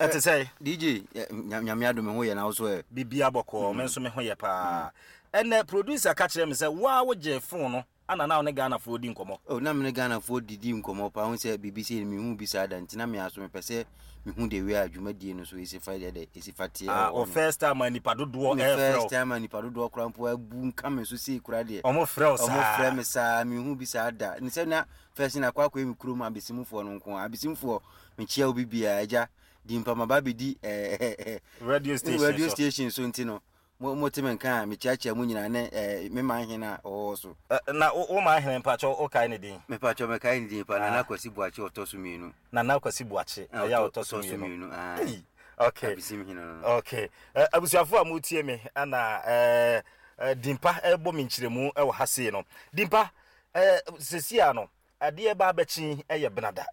Ɛte sɛ? DJ, Nyame adom me ho yɛ na wo so ɛ? Bibia bɔkɔɔ, me nso me ho yɛ paa. Ɛnɛ producer ka kyerɛ me sɛ wo a wogyee phone no ana na wo ne Ghanafoɔ di nkɔmmɔ? Oh, na me ne Ghanafoɔ didi nkɔmmɔ paa. Wohu sɛ biribi sei no mehu bi saa da nti na me ara so mepɛ sɛ mehu the way a dwumadie no so ɛsi fa yɛ dɛ ɛsi fa teɛ Ah, wɔ wo hɔ no. first time a nipa dodoɔ Me ɛrefrɛ first wo. time a nipa dodoɔ koraa mpo abu nka me so sei koraa deɛ. Ɔmo frɛ wo Ɔmo saa. frɛ me saa, mehu bi saa da. Ne sɛ na first na akɔ akɔyɛ me kurom abesimfoɔ no nko ara. Abesimfoɔ, mekyia obi biara, agya, di mpa maba abɛdi eh, Radio station radio so. station so nti no Mo mo te me nka a, mekyeakyea mo nyinaa ne eh, me man hene a ɔwɔ hɔ so. Eh, na wo man hene mpakyɛw wo kae ne din? Mepakyɛw mekae ne din pa, Nana Kwasi Boakye ɔtɔ so mmienu. Nana Kwasi Boakye, ɛyɛ a ɔtɔ so mmienu. Ae. Ei, okay. Abesim hene no no. Okay. Eh, abusuafo a motie me, ɛna eh, eh, Dimpa ɛrebɔ me nkyerɛmu ɛwɔ ha sei no. Dimpa, eh, sesia no, adeɛ ba abɛkye ɛyɛ benada.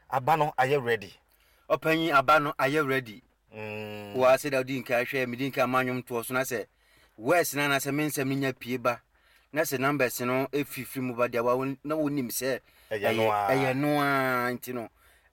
Aba no ayɛ ready. Ɔpanyin, aba no ayɛ ready. Wo ara sɛdeɛ wodi nkan hwɛ, medi nkan ma nnwom toɔ so na sɛ words no anaasɛ me nsɛm no nya pie ba na sɛ numbers no fifiri mu ba deɛ wa na wonim sɛ ɛyɛ no ara nti no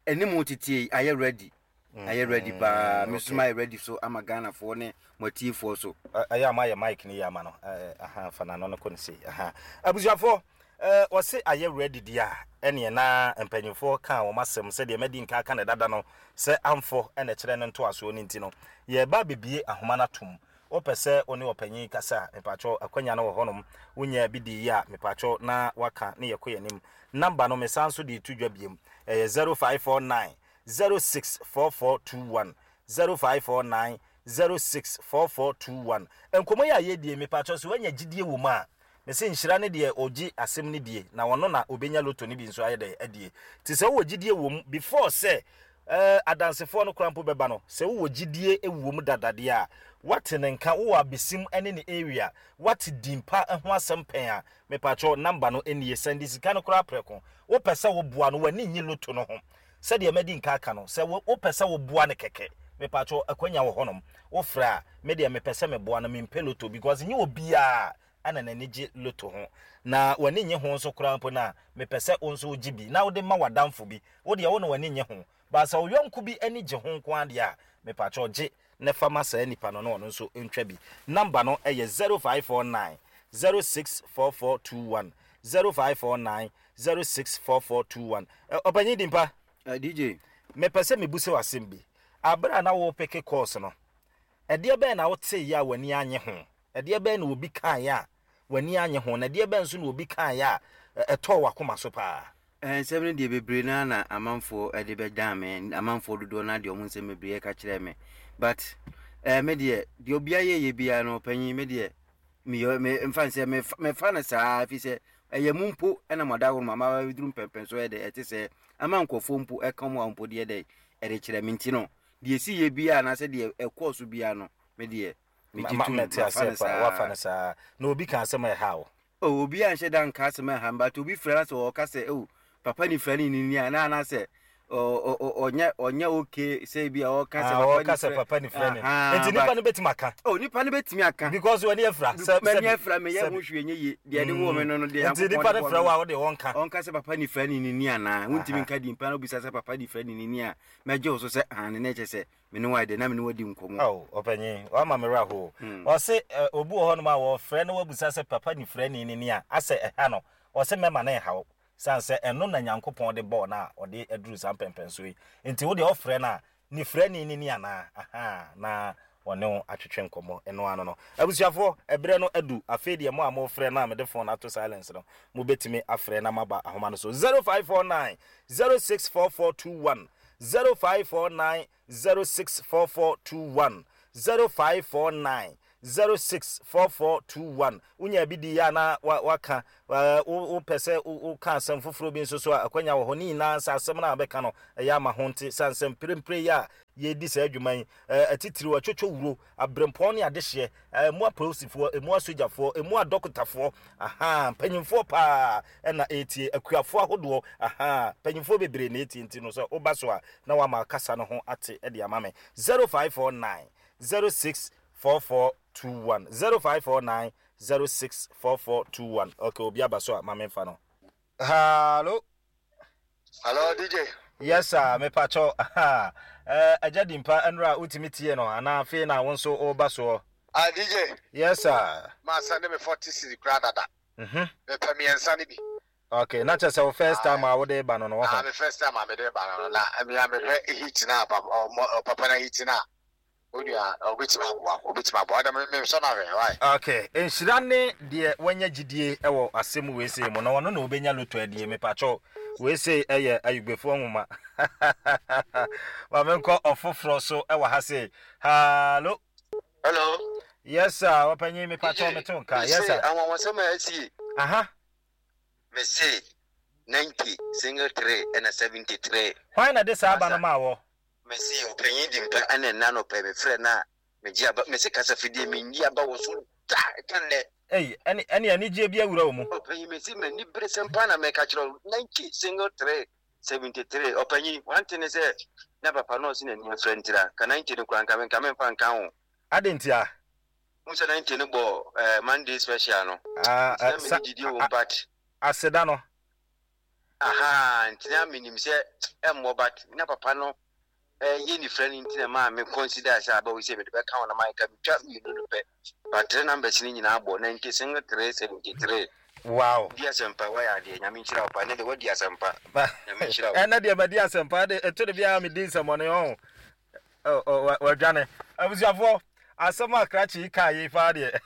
ɛne mu tetie yi ayɛ ready ayɛ ready paa me nso mayɛ ready so ama Ghanafoɔ ne mo atiefoɔ so. Ɛyɛ a moayɛ mic no yie ama no aha fa n'ano no kɔ no sei aha abusuafoɔ Eh wɔse ayɛ ready deɛ a, ɛneɛ na mpanyinfoɔ kaa wɔn asɛm sɛdeɛ madi nka aka no dada no sɛ amfɔ na ɛkyerɛ no ntoasoɔ no nti no yɛreba abɛbie ahoma no atom. Wopɛ sɛ wo ne ɔpanyin kasa a, mepakyɛw akwanya no wɔ hɔnom. Wonyaa bi dii a, mepakyɛw na woaka ne yɛkɔ yɛn anim. Number no mesan nso de reto dwa biom, ɛyɛ 0549 064421, 0549 064421. Nkɔmmɔ yi a yɛredie yi, mepakyɛw sɛ woanya gyidie wɔ mu a, Mese nhyira ne deɛ ɔgye asɛm no die na ɔno na ɔbɛnya lotto no bi nso ayɛ dɛn adie. Nti sɛ wowɔ gyidie wɔ mu before sɛ eh, adansefoɔ no koraa mpo bɛba no, sɛ wowɔ gyidie wɔ mu dada deɛ a, woate ne nka, wowɔ abesim ne ne area, woate din pa ho asɛm pɛn a, mepakyɛw number no nie, sɛnde sika no koraa prɛko. Wopɛ sɛ woboa no, w'ani nnye lotto no ho. Sɛdeɛ madi nka aka no, sɛ wopɛ sɛ woboa no kɛkɛ, mepakyɛw akwanya wɔ hɔnom, wofrɛ a, me deɛ mepɛ sɛ meboa no, mempɛ lotto because nyɛ obiara na n'ani gye loto ho, na w'ani nnye ho nso koraa mpo no a, mepɛ sɛ wo nso wogye bi na wode ma w'adamfo bi. Wo deɛ, wo na w'ani nnye ho, but sɛ wo yɔnko bi ani gye ho nko ara deɛ a, mepakyɛw gye na fa ma saa nipa no na ɔno nso ntwa bi. Number no yɛ 0549 064421, 0549 064421. Ɔpanyin Dimpa. DJ. Mepɛ sɛ mebisa wo asɛm bi. Bere a na worepeke course no, Ɛdeɛ bɛn na woteeɛ a w'ani annye ho? Ɛdeɛ bɛn na obi kaeɛ a w'ani annye ho? Na ɛdeɛ bɛn nso na obi kaeɛ a ɛtɔɔ w'akoma so paa? Nsɛm no deɛ bebree no ara na amanfoɔ de bɛdan me, amanfoɔ dodoɔ no ara de wɔn nsɛm bebree ɛka kyerɛɛ me. But eh, me deɛ, deɛ obiara yɛyɛ biara no, ɔpanyin, me deɛ, meyɛ, me, mfa no sɛ, mefa, mefa no saa, ɛfiri sɛ ɛyɛ mo mpo ɛna mo adaworo ma ma bɛduru mpɛmpɛn so ɛyɛ dɛ, ɛte sɛ ama nkurɔfoɔ mpo ɛka wɔn a mpo deɛ dɛ, ɛde kyerɛ me nti no, Deɛ ɛsiiɛ biara anaasɛ deɛ ɛkɔɔ so biara no, me deɛ, megye tom, Mete mafa aseɛ no paa, saa. woafa no saa. Na obi ka asɛm a ɛha wo? Oh, obi anhyɛ da nka asɛm a ɛha me, but obi frɛ na sɛ ɔka sɛ, oh, papa ne fira ne nini a, na anaasɛ ɔnyɛ ɔnyɛ okay sɛ bi a ɔka sɛ ah, papa ne fira papa ne fira ne. Nti nipa no bɛtumi aka. Oh, nipa no bɛtumi aka. Because w'ani afira. Sɛ m'ani afira meyɛ ho hwee nyɛ yie. Deɛ ɛde wɔ me no no deɛ Nti nipa no frɛ wo a wode ɔnka. Ɔnka sɛ papa ne fira ne nini anaa. Wontumi nka di mpa na obisa sɛ papa ne fira ne nini a. Mɛgye wo so sɛ aane, na ɛkyerɛ sɛ me ne wo ayɛ dɛn, na me ne wo adi nkɔmmɔ. Ao, ɔpanyin, woama me werɛ ahow. Ɔse, obi wɔ hɔnom a wɔfrɛ na wabisa sɛ papa nifirani no ni a, asɛ ɛha no? Ɔse mɛma no nha wo, sane sɛ ɛno na Nyankopɔn de bɔɔ no a ɔde aduru saa mpɛnpɛnsoɔ yi. Nti wo deɛ wofrɛ no a, nifirani no ni anaa? Ahaa, na wɔne wo atwetwe nkɔmmɔ. Ɛno ano no. Abusuafoɔ, ɛberɛ no adu. Afei deɛ mo a mofrɛ no a mede phone ato silence no, mobɛtumi afrɛ na moaba ahoma no so. 0549 064421, 0549 064421, 0549 064421. Wonyaa bi diiɛ a na waka. Wopɛ sɛ woka asɛm foforɔ bi nso so a, akwanya wɔ hɔ. Ne nyinaa sɛ asɛm no a wobɛka no ɛyɛ ama ho nte. Sane sɛ mprempren yi a yɛredi saa adwuma yi, atitiriw, atwotwowuro, aberempɔn ne adehyeɛ, ɛmu apolisifoɔ, ɛmu asogyafoɔ, ɛmu adɔkotafoɔ, ahaa, mpanyimfoɔ paa na ɛretie, akuafoɔ ahodoɔ, ahaa, mpanyimfoɔ bebree na ɛretie nti no sɛ woba so a na woama kasa no ho ate de ama me. 0549 064421 0549 064421 Okay, obi aba so a ma memfa no. Hallo. Hello DJ. Yes sir, me pacho. Aha. Eh, agya dimpa ɛnora wotumi tie no anaa afei na wo nso woba soɔ? Ah DJ. Yes sir. Ma send me 40 cedi kura dada. Mhm. Mepɛ mmiɛnsa no bi. Okay, na kyerɛ sɛ wo first time a wode ba no no wɔ Ah, me first time a mede ba no no na me a mehwɛ heat na papa na heat na Onua, obetumi aboa wo, obetumi aboa wo. Ɛda me mesɔ no ahwɛ, why? Okay, nhyira ne deɛ wanya gyidie wɔ asɛm wei sei mu, na ɔno na ɔbɛnya loto adie. Mepakyɛw, wei sei yɛ Ayugbefoɔ nwoma. Ma menkɔ ɔfoforɔ so wɔ ha sei. Hallo. Hello. Yes sir, ɔpanyin mepakyɛw mete wo nka. Yes sir. Anwanwasɛm a asie. Aha. Mese 90 single 3 ɛna 73. Hwan na de saa aba no maa wɔ? Mese ɔpanyin di mpa ɛna ɛna anɔpa yi me frɛ no a megye aba mese kasafidie menyi aba wɔ so da ɛka nnɛ. Ei ɛne ɛne anigyeɛ bi awura wo mu. Ɔpanyin mese m'ani bere sɛm paa na meka kyerɛ wo 90 single 3 73 ɔpanyin one thing ne sɛ na papa no ɔse n'ani afira ntira ka 90 no koraa nka me nka memfa nka ho. Adɛn ntia? Wohu sɛ 90 no bɔ eh, Monday special no. Ah, Nti na eh, sa, mene gyidie wɔ mu but. Aseda no. Ahaa nti na menim sɛ ɛmmɔ but na papa no yɛ nifra no nti na maa me consider sɛ aba wei sɛ mede bɛka ho na mayɛ ka metwa mmienu no pɛ but three numbers no nyinaa bɔ 96 3 73. Wow. Di asɛmpa wayɛ adeɛ nyame nhyira wo pa ɛnɛ deɛ wadi asɛmpa nyame nhyira wo. Ɛnɛ deɛ madi asɛmpa de ɛto de biara medi nsɛmɔne ɔho Wadwane. Abusuafoɔ, asɛm a krakye yi kaa yi paa deɛ,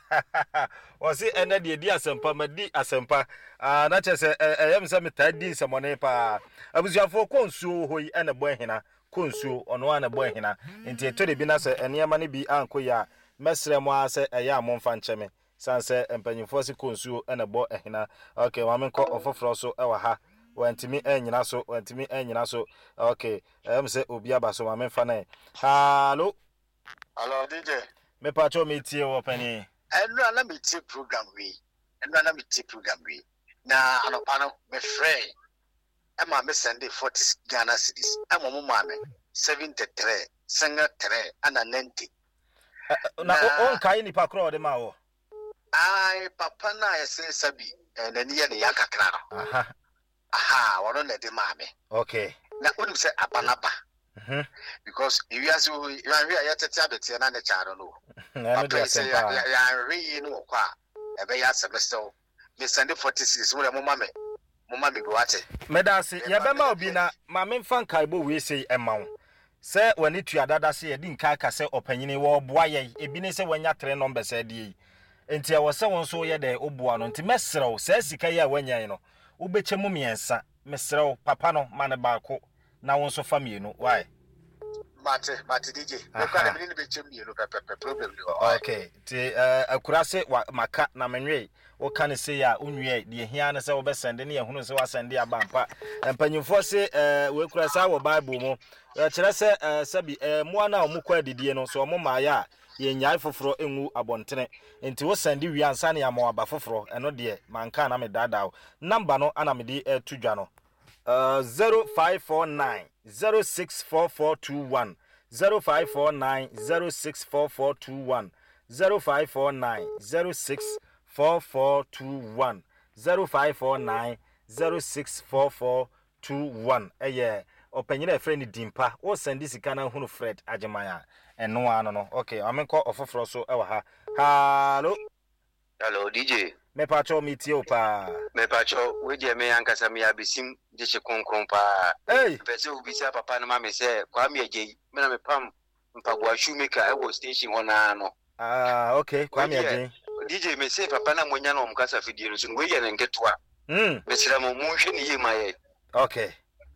ɔse ɛnɛ deɛ di asɛmpa, madi asɛmpa. Ah, na kyerɛ sɛ ɛyɛ me sɛ metaa di nsɛmɔne paa. Abusuafoɔ, kɔ nsuo wɔ hɔ yi ɛna ɛbɔ ahina. Kɔ nsuo, ɔno ara na ɛbɔ ahina. Nti ɛtɔ da bi na sɛ nneɛma no bi ankɔ yie a, mɛsrɛ mo ara sɛ ɛyɛ a momfa nkyɛ me. Sane sɛ mpanyinfoɔ se kɔ nsuo na ɛbɔ ahina. Ok, ma menkɔ ɔfoforɔ so wɔ ha. Wantumi annyina so, wantumi annyina so. Ok, ɛyɛ me sɛ obi aba so, ma memfa no ɛ. Hallo. Hallo DJ. Mepakyɛw metie wo ɔpanin. Ɛnora na metie program wei, ɛnora na metie program wei, na anɔpa no mefrɛɛ ɛma me sɛnde 40 Ghana cedis ɛma ɔmo maa me 73 single 3 ɛna 90. Na wonkae nipa korɔ a ɔde maa wɔ? Ae, papa no a yɛse sabi n'ani yɛ ne ya kakra no. Aha. Aha, ɔno na ɛde maa me. Okay. Na wonim sɛ aba no aba. Because ewiase wɔ yi, yɛanhwɛ a yɛtete abeteɛ na ne kyaa no no. Ɛno Papa deɛ yi sɛ asɛm paa. yɛanhwɛ yie no wɔ kɔ a, ɛbɛyɛ asɛm mesrɛ wo. Me sɛnde 40 cedis mo deɛ mo ma me mo ma me bi wate. Medase, yɛbɛma wo bi na ma memfa nkaebɔ wei sei mma wo. Sɛ w'ani tua dada sɛ yɛadi nka aka sɛ ɔpanyin yi wɔreboa yɛn, ebi ne sɛ wanya three numbers adie yi. Nti ɛwɔ sɛ wo nso woyɛ dɛn woboa no. Nti mɛsrɛ wo, saa sika yi a wanya yi no, wobɛkyɛ mu mmiɛnsa. Mesrɛ wo, papa no, ma no baako na wo nso fa mmienu. Wai? Mate, mate DJ. Me kura de me ne no bɛkyɛ mmienu pɛpɛpɛ, problem ni hɔ. Wai? Okay, nti eh, akurase wa, maka na menwee. Woka no sei a, wonwiae. Deɛ ehia ara ne sɛ wobɛsɛnde ne yɛahunu sɛ woasɛnde aba ampa. Mpanyimfoɔ se eh, wei kura saa wɔ Bible mu. Ɛkyerɛ sɛ eh, sɛbi eh, mmoa no a wɔkɔ adidie no, sɛ wɔn mmaeɛ a, yɛnnyae foforɔ ngu abɔntene. Nti wosɛnde wie ansa na yɛama wo aba foforɔ. Ɛno deɛ, manka a na medaadaa wo. Number no ana mede reto dwa no. 0549 064421 0549 064421 0549 064421 0549 064421 ɛyɛ ɔpanyin a yɛfrɛ no Dimpa. Wo sɛnde sika na ahunu Fred Agyeman a, ɛno ara no no. Okay, ma menkɔ ɔfoforɔ so wɔ ha. Hallo. Hello DJ. Mepakyɛw metie wo paa. Mepakyɛw wei deɛ me ankasa meyɛ abesim gyekye kronkron paa. Ei! Mepɛ sɛ wobisa papa no ma me sɛ Kwame Agyei me na mepam mpaboa shoe maker ɛwɔ station hɔ naa no. Ah okay Kwame Agyei. DJ mese papa no a moanya no wɔ mo kasa fidie no so no wei yɛ ne nketewa. Mesrɛ mo monhwɛ no yie ma yɛn. Okay.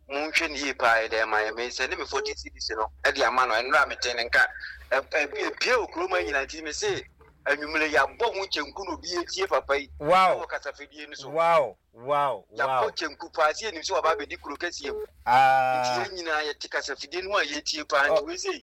Monhwɛ no yie paa yɛ dɛn ma yɛn. Me sɛnde me 40 cedis no de ama no ɛnora metee ne nka ɛpie wɔ kurom ha nyinaa nti mese. Anwummere yɛabɔ ho kyenku na obi atie papa yi Wow. wɔ kasafidie no so. Wow, wow, Yɛabɔ wow. kyenku paa sɛ yɛnim sɛ waba abɛdi kuro kɛseɛ mu. Nti Ah. yɛn nyinaa yɛte kasafidie no ho a yɛtie paa nti Oh. wei sei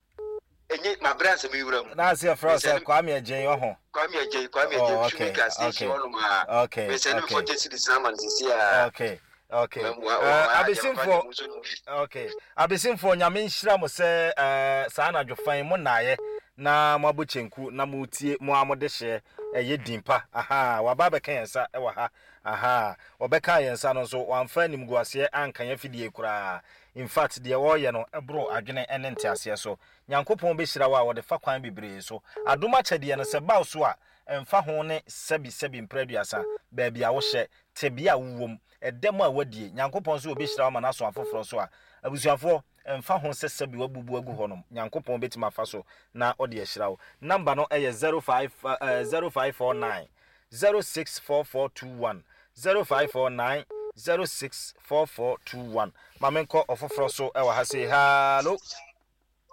ɛnyɛ mabrɛ ansa mewura mu. Na ase yɛfrɛ wo sɛ Mesɛne Kwame Agyei ɔho. Kwame Agyei, Kwame Agyei, Oh, okay, Shoemaker station okay. hɔnom a. Okay, Mesɛne me okay. 40 cedis na ama no seesei a. Okay, okay. Mɛmoa, ɔmo ayɛ adeɛ papa Abesimfoɔ, deɛ mo nso no bi. okay. Abesimfoɔ, Nyame nhyira mo sɛ eh, saa anadwo fa yi mo nnaeɛ na mo abɔ kyenku na mo tie mo ara mo dehyeɛ ɛyɛ din pa. Ahaa, waba abɛka yɛn nsa wɔ ha. Ahaa, ɔbɛkaa yɛn nsa no nso wamfa animguaseɛ anka yɛn afidie koraa. In fact, deɛ ɔreyɛ no boro adwene ne nteaseɛ so. Nyankopɔn bɛhyira wo a ɔde fa kwan bebree so. Adom akyɛdeɛ no sɛ ɛba wo so a, ɛmfa ho ne sɛbi sɛbi mprɛ aduasa, baabi a wohyɛ, tebea a wowɔ mu, ɛdɛ mu a woadie, Nyankopɔn nso ɔbɛhyira wo ama no aso afoforɔ so a, abusuafoɔ, ɛmfa ho sɛ sɛbi woabubu agu hɔ nom, Nyankopɔn bɛtumi afa so na ɔde ahyira wo. Number no yɛ 05 eh, 0549 064421, 0549 064421. Ma menkɔ ɔfoforɔ so wɔ ha sei. Hallo.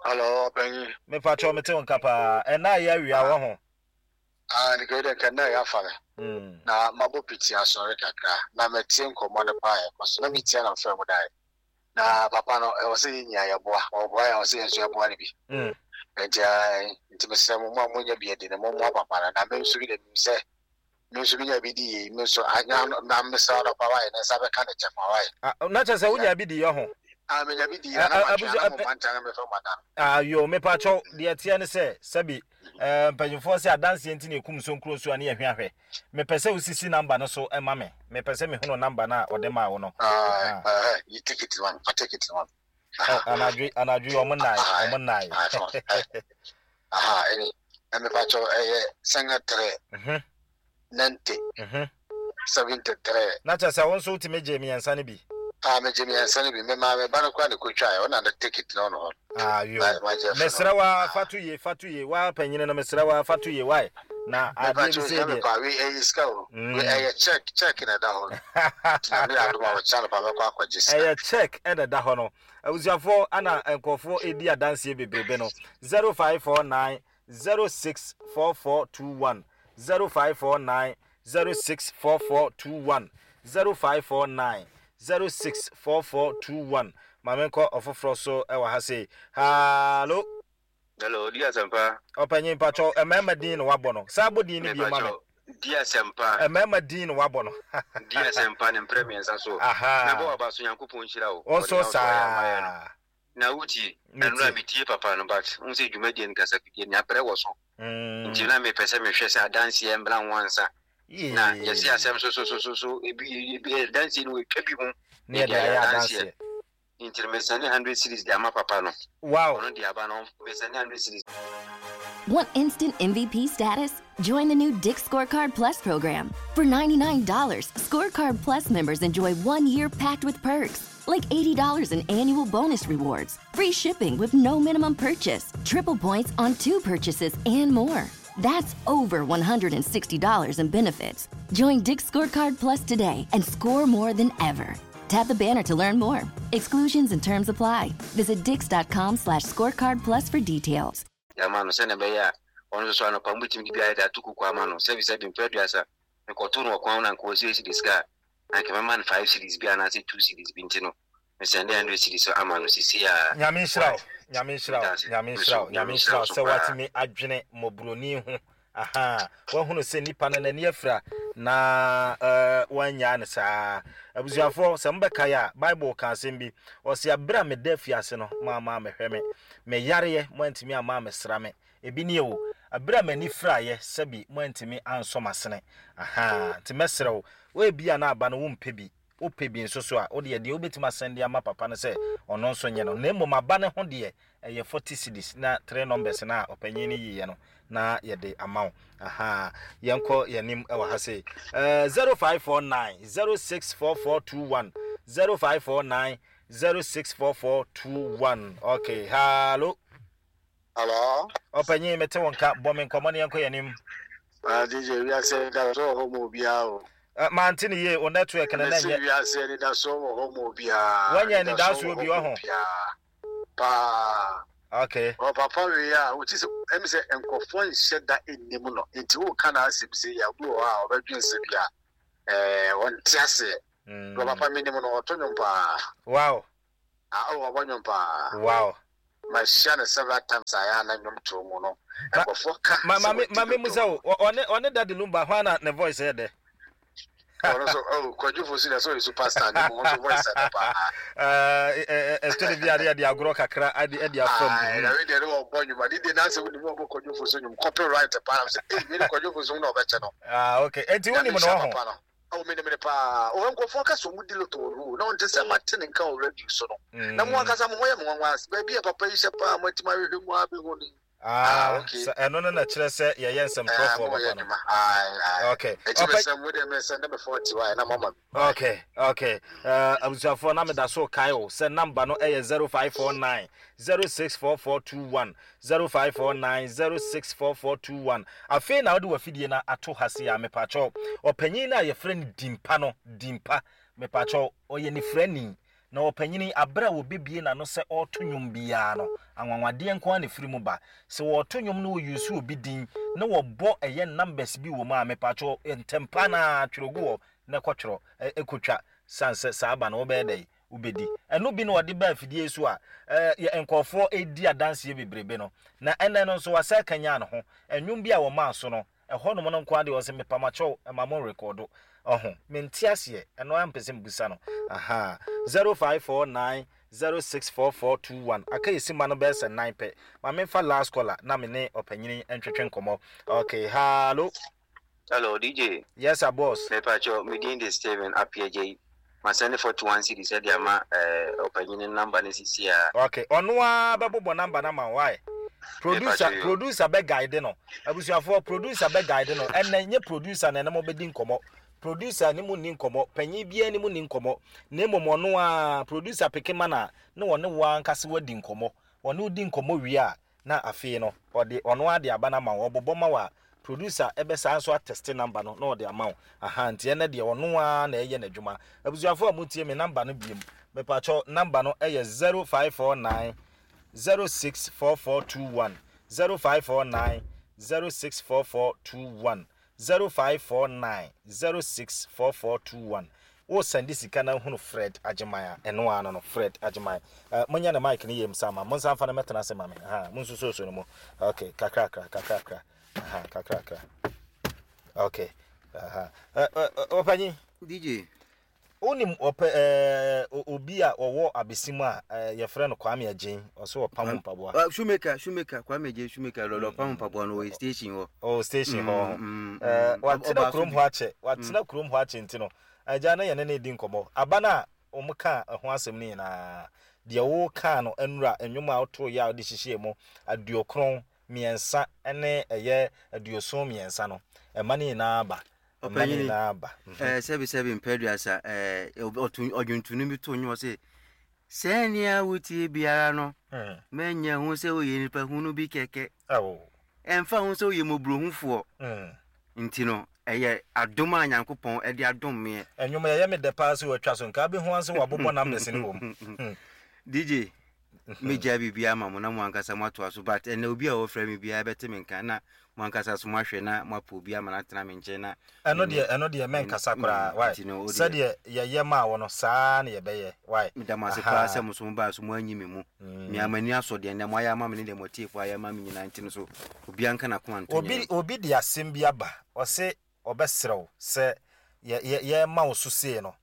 Hello, ɔpanyin. Mepakyɛw mete wo nka paa. Ɛna ayɛ awia wɔ ho. Ah, nka dɛ nka nna yɛafa me. Na mabɔ piti asɔre kakra. Na matie nkɔmmɔ no paa a ɛkɔ so. Na metia na mfrɛ mo dae. Na papa no, ɛwɔ sɛ yɛn nyinaa yɛboa. Ɔboa yɛn, ɛwɔ sɛ yɛn nso yɛboa no bi. Nti, ae, nti mesrɛ mo, mo a monya bi adi no, mommoa papa no. Na me nso bi de, menim sɛ me nso menya bi di yei, me nso anya ano, na mesrɛ anɔpa wae, ne nsa bɛka ne kyɛfa wae. Ah, na kyerɛ sɛ wonya bi di yɛ ho. Ah, menya bi di yɛ, na matwe a, na mo mma nkyɛn mefɛ mo ada no. Ah, yo, mepakyɛw, deɛ ɛteɛ ne sɛ, sɛbi, eh, mpanyinfoɔ sɛ adanseɛ nti na ɛkum nsonkuro nsuo a ne yɛhwɛ ahwɛ. Mepɛ sɛ wosisi namba no so ma me. Mepɛ sɛ mehunu namba no a ɔde maa wo no. Ah, eh, yi ticket ma me, fa ticket ma me. Oh, anadwo, anadwo yi ɔmo nnae, ɔmo nnae. Aha, ɛne, mepakyɛw, ɛyɛ sɛnga trɛ, 90, 73. Na kyerɛ sɛ wo nso wotumi gyee mmiɛnsa no bi? Ah, megye mmiɛnsa no bi. Me maame ba no koraa na ɛkɔtwaeɛ. Ɔna ne ticket no ɔno hɔ. Ah, yo. Mesrɛ wo ara, fa to yie, fa to yie. Wo ara panyini no, mesrɛ wo ara, fa to yie. Why? Na adeɛ bi sei deɛ. Mepa wei ɛyɛ sika o. Wei ɛyɛ check, check na ɛda hɔ no. Nti na meyɛ adom a wɔkyɛ anɔpa mɛkɔ akɔgye sika. Ɛyɛ check na ɛda hɔ no. Abusuafoɔ ana nkurɔfoɔ ɛdi adanseɛ bebrebe no. 0549 064421 0549 064421 0549 064421 Ma menkɔ ɔfoforɔ so wɔ ha sei. Hallo. Hello, di asɛmpa. Ɔpanyin mpakyɛw, mmarima din na wabɔ no. Saa bɔ din no bio ma me. Di asɛmpa. Mmarima din na wabɔ no. Di asɛmpa ne mprɛ mmiɛnsa so. Aha. Mɛbɔ waba so Nyankopɔn nhyira wo. Wo nso saa. Na wotie? Ɛnora metie papa no but wohu sɛ dwumadie no kasafidie no abrɛ wɔ so nti na mepɛ sɛ mehwɛ sɛ adanseɛ mmra ho ansa na yɛse asɛm so so so so so ebi ebi adanseɛ no wɔatwa bi ho na yɛde ayɛ adanseɛ nti no mesɛne 100 series de ama papa no wow ɔno de aba no mesɛne 100 series. Want instant MVP status? Join the new Dick's Scorecard Plus program. For $99, Scorecard Plus members enjoy one year packed with perks, like $80 in annual bonus rewards, free shipping with no minimum purchase, triple points on two purchases, and more. That's over $160 in benefits. Join Dick's Scorecard Plus today and score more than ever. Tap the banner to learn more. Exclusions and terms apply. Visit dix.com slash scorecard plus for details. Ama no sɛnea ɛbɛyɛ a ɔno nso so anɔpa mobɛtumi de bi ayɛ de ato kuku ama no sɛbisɛbi mprɛ aduasa mekɔto no wɔ kwan ho na anka ɔsɛ cedis sika a anka mɛma no 5 cedis bi anaasɛ 2 cedis bi nti no mesɛnde 100 cedis ama no sisi a. Nyame nhyira wo, Nyame nhyira wo, Nyame nhyira wo, Nyame nhyira wo sɛ woatumi adwene mmɔborɔni ho Ahaa, wahunu sɛ nipa no n'ani afira na eh, wannyaa no saa. Abusuafoɔ, sɛ mobɛkae a, Bible ka asɛm bi. Ɔse, aberɛ a meda afiase no, moamma ammɛhwɛ me. Me yareɛ, moantumi amma ammɛsra me. Ebi nie o, aberɛ a m'ani firaeɛ, sɛbi moantumi ansɔ m'asene. Ahaa, nti mɛsrɛ wo, ebia na aba no wompɛ bi, wopɛ bi nso so a, wodeɛ deɛ wobɛtumi asɛnde ama papa no sɛ ɔno nso nyɛ no. Na mmom aba no ho deɛ, ɛyɛ 40 cedis na three numbers no a ɔpanyin no yiiɛ no na yɛde ama wo. Aha, yɛnkɔ yɛn anim wɔ ha sei. Uh, 0549 064421 0549 064421. Okay, hello. Hello. Ɔpanyin mete wo nka bɔ me nkɔmmɔ ne yɛnkɔ yɛn anim. Ah, DJ, wiase anidasoɔ wɔ hɔ ma obiara o. Uh, mante ne yie, wo network no na nyɛ. Wiase anidasoɔ wɔ hɔ ma obiara. Wanya anidasoɔ bi wɔ ho. Paa. Okay. Ɔ papa wei a wote sɛ ɛmi sɛ nkurɔfoɔ nhyɛ da nnim no nti woka n'asɛm sei a obi wɔ hɔ a ɔbɛdwen sɛ bi a ɛɛ ɔnte aseɛ. Wɔ papa menim no ɔto nnwom paa. Wow. Ah oh ɔbɔ nnwom paa. Wow. Mahyia no several times a ɛyɛ a na nnwom to mu no nkurɔfoɔ ka Ma sɛ ma me wadi ma me dodo. musa o ɔne ɔne Daddy Lumba hwan na ne voice yɛ dɛ? Ɔno nso oh Kwadwo Fosu deɛ sɛ ɔyɛ superstar ne mu nso voice ɛdɛ paa. Ɛtɔ de bi a ne yɛde agorɔ kakra ɛde ɛde afa mu. Ayi na wei deɛ ne wɔbɔ nnwom ade deɛ n'asɛ wonim wɔbɔ Kwadwo Fosu nnwom copyright paa na sɛ ei wei de Kwadwo Fosu na ɔbɛkyɛ no. Ah okay enti Nyame wonim no nhyira ɔho. papa no. Oh menim no paa. Oh nkurɔfoɔ ka sɛ ɔmo di lotto wɔ no na ɔnte sɛ mate ne nka wɔ radio so no. Na mo ankasa mo ho yɛ me nwanwa baabi a papa yi hyɛ paa moatumi ahwehwɛ mu abɛhu no yi. Ah, okay. Sɛ ɛno no na kyerɛ sɛ yɛyɛ nsɛmtwerɛfoɔ papa no. Okay. Eti mesɛ mo deɛ mesɛ ne bɛfɔ ti wa na mama mi. Okay, okay. Abusuafoɔ na meda so kae o sɛ namba no ɛyɛ 0549 064421 0549 064421. Afei na wode wafidie no ato ha se a mepakyɛw. Ɔpanyin no a yɛfrɛ no Dimpa no, Dimpa, mepakyɛw, ɔyɛ nifrani. Na ɔpanyin yi, bere a wɔbɛbue n'ano sɛ ɔreto nnwom biara no, anwanwadeɛ nko ara na ɛfiri mu ba. Sɛ wɔreto nnwom na wɔuse obi din na wɔbɔ ɛyɛ numbers bi wɔ mu a, mepakyɛw, ntɛmpa no ara twerɛ gu hɔ na kɔtwerɛ, kɔtwa, sane sɛ saa aba no wobɛyɛ dɛn? Wobɛdi. Ɛno bi na wɔde ba afidie yi so a, yɛ nkurɔfoɔ redi adanseɛ bebrebe no. Na ɛnnɛ no nso, wasan akanyan ne ho. Nnwom bi a wɔmaa so no, Ɛhɔnom no nko ara deɛ ɔse mepamakyɛw ma mo nrekɔdo ɔho mente aseɛ ɛno ara mpɛ sɛ mebisa no ahaa 0549 064421 aka yɛ sima no bɛyɛ sɛ nan pɛ ma memfa last caller na me ne ɔpanyini ntwetwe nkɔmmɔ okay hallo. Hello DJ. Yes sir boss. Mepakyɛw me din de Steven Appiagyei. Ma sɛnde 41 cedis de ama eh, ɔpanyin no number no sisi a. Okay, ɔno ara bɛbobɔ number no ama wo why? Producer, producer bɛ guide no. Abusuafoɔ, producer bɛ guide no. Ɛnɛ nye producer na ɛne mo bɛdi nkɔmmɔ. Producer ne mo nni nkɔmmɔ, panyin biara ne mo nni nkɔmmɔ. Na mmom ɔno ara, producer peke ma no a, na ɔne wo ankasa wadi nkɔmmɔ. Ɔne wo di nkɔmmɔ wie a, na afei no ɔde ɔno ara de aba no ama wo, ɔbobɔ ma wo a, producer bɛsan nso atɛste number no na ɔde ama wo, ahaa, nti ɛnɛ deɛ ɔno ara na ɛyɛ n'adwuma. Abusuafoɔ a motie me number no biom, mepakyɛw number no yɛ 0549 064421, 0549 064421. 0549 064421 Wo sɛnde sika na hunu Fred Agyeman a, ɛno ara no no, Fred Agyeman. Eh, monyɛ ne mic no yie msa ma, monsan mfa no mɛtena ase ma me. Aha, monsusuosuo no mu. Okay, kakrakra, kakrakra. Aha, kakrakra. Okay. Aha. Eh, eh, eh, ɔpanyin. DJ. Wonim ɔpɛ ɛɛ obi a ɔwɔ abesim a ɛɛ yɛfrɛ no Kwame Agyen, ɔso ɔpam mpaboa. Uh, shoemaker, shoemaker, Kwame Agyen shoemaker, lɔlɔ ɔpam mpaboa no ɔyɛ station hɔ. Oh, station hɔ. Mm, mm, ɛɛ watena kurom hɔ akyɛ, watena kurom hɔ akyɛ nti no, agya na yɛne no redi nkɔmmɔ. Aba no a wɔn kaa ɛho asɛm no nyinaa, deɛ wokaa no nnura, nnwom a wotoeɛ a wode hyehyɛɛ mu aduokron mmiɛnsa ne ɛyɛ 73 no, ɛma no nyinaa ba. Ɛma no Ɔpanyini, nyinaa ba. Mhm. eh, sɛbi sɛbi mpɛ aduasa, eh, ɔto ɔdwontoni bi to nnwom ɔse, sɛnea wotie biara no, Mm. manya hu sɛ woyɛ nipa hunu bi kɛkɛ. Awo. Ɛmfa ho sɛ woyɛ mmɔborɔhufoɔ. Mm. Nti no, ɛyɛ adom a Nyankopɔn de adom meɛ. Ɛnwom yɛyɛ me dɛ paa sɛ watwa so, nka wobɛhu ara sɛ wabobɔ numbers no wɔ mu. Hmm. DJ, Mɛgyaa biribiara ama mo na mo ankasa moatoa so but ɛnɛ obi a ɔfrɛ me biara bɛte me nka na mo ankasa so moahwɛ na moapɛ obi ama no atena me nkyɛn na Ɛno deɛ ɛno deɛ mɛnkasa koraa wai nti no wodeɛ sɛdeɛ yɛyɛ maa wo no saa ara na yɛbɛyɛ wai Meda mo ase paa ahaa. sɛ mo nso mobaa so moanyi me mu. Me ara m'ani asɔ deɛ nnɛ moayɛ ama me ne deɛ mo atiefoɔ ayɛ ama me nyinaa nti no so obiara nka n'akoma nto Obi nyɛ. obi de asɛm bi aba ɔse ɔbɛsrɛ wo sɛ yɛ yɛ yɛrema wo so sei no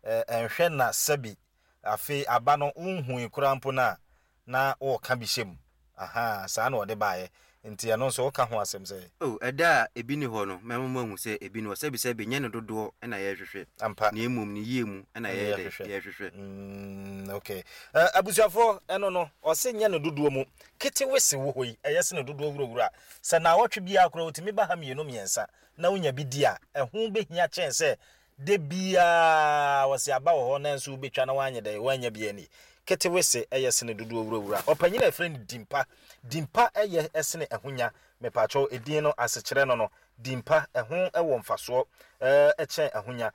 ɛ ɛnhwɛ na sɛbi Afei aba no wonhui koraa mpo no a, na woreka bi hyɛ mu. Ahaa, saa na ɔde baeɛ. Nti ɛno nso woka ho asɛm sɛn? Oh, ɛda a ebi nni hɔ no, mɛma moahu sɛ ebi nni hɔ. Sɛbisɛbi, nyɛ ne dodoɔ na yɛrehwehwɛ, Ampa. na mmom ne yie mu na Ɛna yɛyɛ dɛ? yɛhwehwɛ. Yɛrehwehwɛ. Mm, okay. Eh, abusuafoɔ, ɛno no, ɔse nyɛ ne dodoɔ mu. Ketewese wɔ hɔ yi, ɛyɛ sene dodoɔ wurawura. Sɛ naawɔtwe biara koraa ɔtumi ba ha mmienu mmiɛnsa na wonya bi di a, ɛho bɛhia kyɛn sɛ Da biara wɔse aba wɔ hɔ nanso wobɛtwa na woanyɛ dɛn? Woannya bi anni. Ketewese yɛ sene dodoɔ wurawura. Ɔpanyin a yɛfrɛ no Dimpa. Dimpa yɛ sene ahonya. Mepakyɛw, edin no asekyerɛ no no, Dimpa, ɛho wɔ mfasoɔ kyɛn ahonya.